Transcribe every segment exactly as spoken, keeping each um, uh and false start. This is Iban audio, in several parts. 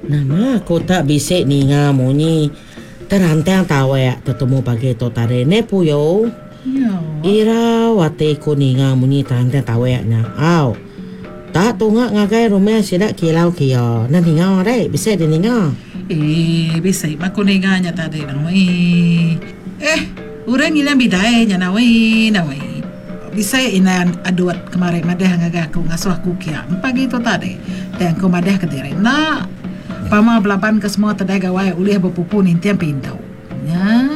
Nama aku tak bisi ninga munyi terantang tawak tetemu pagi tu tadi ne Puyo. Ya. Irau ati ku ninga munyi terantang tawak nya. Au. Tak tunga ngagai rumah sida kilau kia. Nah ninga deh, bisi dia ninga. Eh, bisi aku ninga nya tadi nawi. Eh, orang ngilang bidai nya nawi, nawi. Bisi inan aduat kemarin madah ngagai aku ngasuh aku kia. Pagi tu tadi. Dan aku madah ke diri. Nak pama belaban ke semua tedai gawai ulih berpupu nintiang pintu. Nya.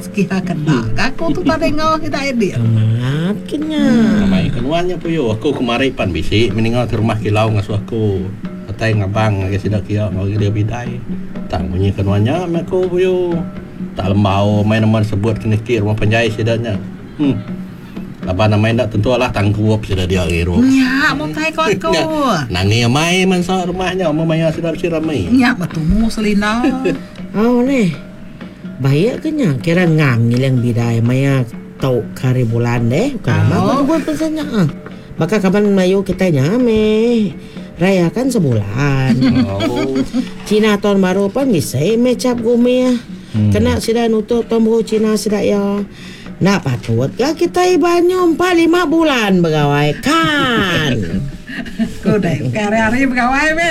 Sekia kena. Aku tu tadi ngau kita edit. Amat kenya. Namai kenuannya Puyo. Aku kemari pan bisi meninggal ke rumah kilau ngasuh aku. Atai ngabang ngagai sida kia ngau dia bidai. Tak bunyi kenuannya me aku Puyo. Tak lembau main nama sebut kena ki rumah panjai sidanya. Hmm. Laban nama ndak tentu lah tangkup sida dia ngirup. Nya, mutai ko aku. Nangi amai mansa rumahnya mau maya sida bisi ramai. Nya betumu selina. Oh neh. Baik ke nya kira ngam ngilang bidai maya tau hari bulan deh. Bukan Oh. oh. Bukan pesannya ah. Maka kapan mayu kita nya me raya kan sebulan. Oh. Cina tahun baru pun bisa me cap gumi. Hmm. Kena sida nutup tahun baru Cina sida ya. Nak patut ke kita ibanyo empat lima bulan begawai kan. Ku deh, hari-hari begawai me.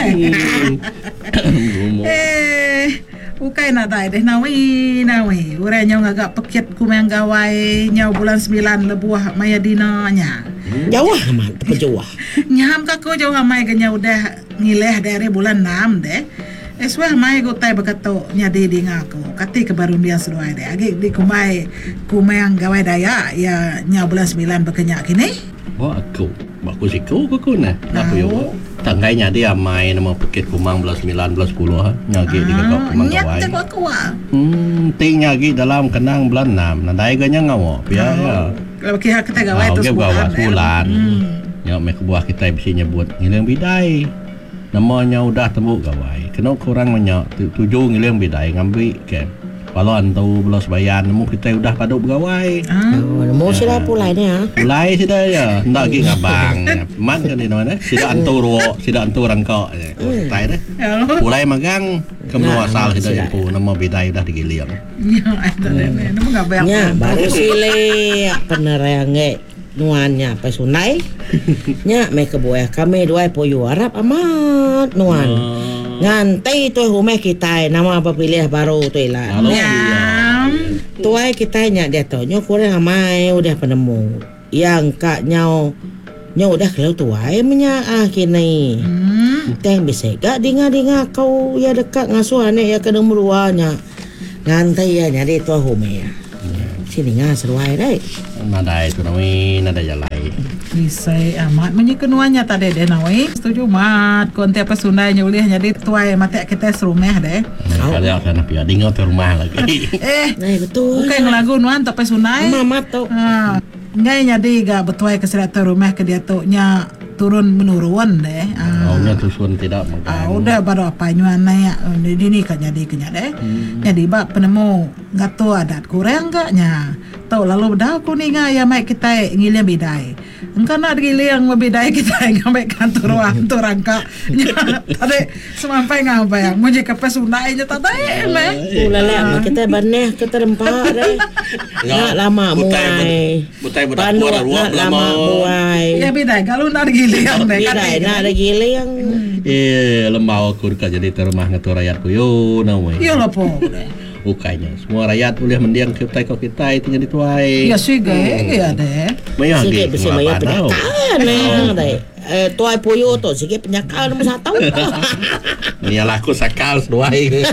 Gumo. Eh, ukai nadai deh nawi nawi. Urang nyo ngagak pekit kumang gawai nyau bulan sembilan lebuah maya dina nya. Jauh amat terpejuah. Nyam ka aku jauh amai ke nyau udah ngileh dari bulan enam deh. Eh suah mai gutai berketuk nyadi dinga aku. Kati ke baru dia seduai deh. Agi di kumai kumang gawai daya ya nyau bulan sembilan berkenyak kini. Ba aku, ba aku siku aku ku nah. Nah Puyo. Tanggai nyadi amai nama pekit kumang bulan sembilan bulan sepuluh ha. Nyagi di gagak kumang Nyat gawai. aku aku ah. Hmm, ting nyagi dalam kenang bulan enam. Nadai ga nya ngawa pia ya. Kalau kira kita gawai Ah, tu okey, sebulan. gawai sebulan. Hmm. Nya meh kebuah kita bisi nyebut ngiling bidai. Namanya udah tembuk gawai. Kena kurang banyak tu, tuju ngiling bidai ngambi ke. Kalau antu belah sebayan nemu kita udah padu begawai. Ah. Oh, nemu sida pulai ni ah. Pulai sida ya, ndak lagi ngabang. Man kan di mana? Sida antu ruok, sida antu rangkak je. Tai deh. Ya. Pulai magang ke menua asal sida Sida. jempu nama bidai udah digiling. Ya, itu deh. Nemu ngabang. Nya baru silik penerange nuannya apa sunai. Nya me kebuah kami dua Puyo harap amat nuan. Nganti tu rumah kita nama berpilih baru tu ila. Halo. Ya. Tuai kita nya dia tu nyo kurang amai udah penemu. Yang kak nyau nyo udah kalau tuai menya ah kini. Hmm. Teng bisa gak dinga-dinga kau ya dekat ngasuh anak ya ke nombor dua nya. Nganti ya nyari tuai rumah. Sini ngah seruai deh. Nadai tu nami, nadai jalai. Bisai amat menyekenuannya tadi deh nawi. Setuju mat. Konti apa Sundai nyulih jadi tuai mati kita serumah deh. Kali akan pia dinga tu rumah lagi. Eh, Nah betul. bukan ngelagu nuan tapi Sundai. Mama tu. Ha, ngai nyadi ga betuai ke sida tu rumah ke dia tu nya turun menurun deh. Ha. Oh, nya tusun tidak makan. Ah, udah baru apa nyuan naik di ni kan jadi kenya deh. Hmm. Jadi bak penemu ngatu adat kurang gak nya. Tau lalu dah aku ninga ya mai kita ngiling bidai. Engkau nak giling bidai kita ngambil kantor ruang tu rangka. Tadi semampai ngabai muji ke pesunai nya tadi meh. Ulala kita baneh ke terempak deh. Nak lama muai. Butai budak Pandu buat ruang nak lama muai. Ya bidai kalau nak giling deh. Bidai nak ada giling. Eh, lembau aku dekat jadi terumah ngatur rakyat ku yo namai. Ya lah po. Bukannya semua rakyat boleh mendiang kita kau kita itu jadi tuai. Ya sih ge ya deh. Maya Sikit lagi besi maya tau. penyakaan eh. Eh, tuai puyo tu sikit penyakaan nombor satu. Ni lah aku sakal seduai.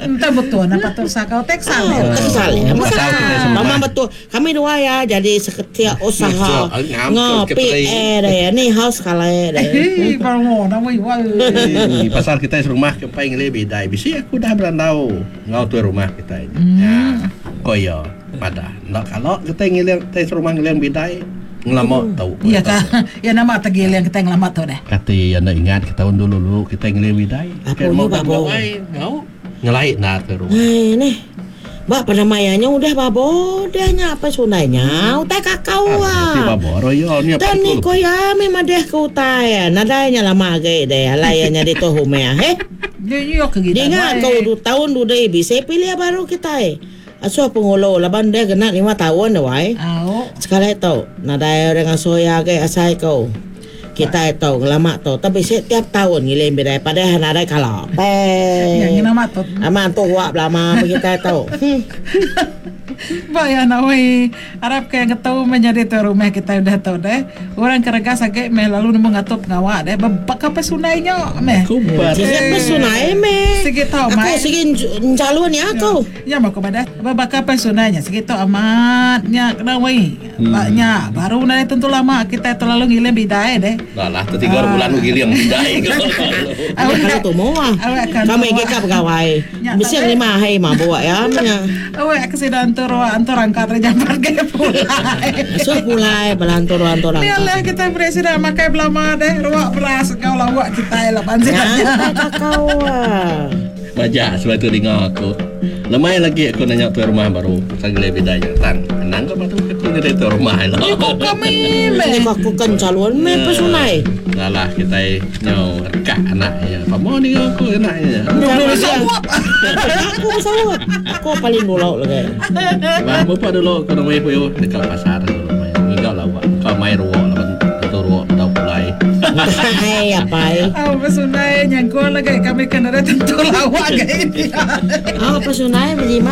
Entah betul apa tu sakal teksal. Oh, kesal ya. Pasal kita semua. Mama betul. Kami dua ya jadi seketia usaha ngopi eh deh. Ni house kali deh. Hei, baru nama iwal. Eh, pasal kita serumah ke pai ngeli bidai. Bisi aku dah berandau ngau tu rumah kita ini. Ya. Koyo pada. Nak kalau kita ngiling kita serumah ngiling bidai ngelama tau. Ya kah? Ya nama tergiling kita ngelama tu deh. Kata yang nak ingat kita tahun dulu dulu kita ngiling bidai. Apa ni, babo? Ngau ngelait nak ke rumah. Hai ni. Bak penamayanya udah babo dahnya apa sunainya utai kakau Si ah. babo royo ni apa Dan ni tu? ko ya memang deh ke utai. Nadainya lama ge deh. Alayanya di tu humea he. Dia ke kita. Dinga kau du tahun du dei bisa pilih baru kita. Asuh pengulo laban dia kena lima tahun dah wai. Au. Sekali tau nadai orang ngasuh ya ke asai kau. Kita tau ngelama tau tapi setiap tahun ngilim bidai padahal nadai kala. Pe. Yang nama tu. Aman tu wak lama kita tau. Hmm. Ba ya nawai harap ke yang tahu menjadi tu rumah kita udah tahu deh. Orang keregas agak meh lalu nemu ngatup ngawak deh. Bebak apa sunainya meh. Kubar. Siapa sunai meh? Sige tau Aku mai. sige calon ya aku. Ya mau kepada bebak apa sunainya segitu amatnya kena wei. Baknya baru nai tentu lama kita terlalu ngilim bidai deh. Dah lah, tiga bulan lu giling bidai. Awak kalau tu mau ah. Awak akan Kami tua. ke kap pegawai. Ya, Mesti tapi- lima hai mah buat ya. Nya. Awak kesida antur antur angkat jambar ke pulai. Asuh pulai belantur-lantur Ni lah kita presiden makai belama deh ruak beras kau lawak kita lah Ya, panjang. kau ah. Majak sebab tu dengar aku. Lemai lagi aku nanya tuan rumah baru. Pasal gila bidainya. Tang, anang kau batu aku jadi tuan rumah lah. Kok kami Ini meh. aku kan calon meh pesunai. Dah lah kita nyau rekak anaknya. Pamo ni aku anaknya. Dulu sawap. Aku sawat. Aku paling dulu lagi. Bah, bapak dulu aku nak main puyo dekat pasar dulu main. Ngigau lah buat. Kau main ruak lah tentu ruak tau pulai. Hai apa? Ah, pesunai nyangkul lagi kami kena tentu lawak gaya ini. Ah, pesunai berjima